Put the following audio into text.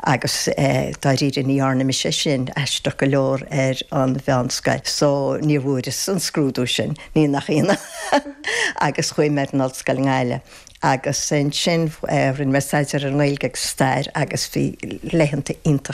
Agus dáiríre ní dhearna mise sin, aisteach go leor, ar an mheánscoil. So níor bhfuaireas an scrúdú sin, ní nach ionadh. Agus chuaigh mé ar an ollscoil i nGaillimh. Agus ansin rinne mé staidéar ar an nGaeilge agus stair agus bhí laethanta iontacha.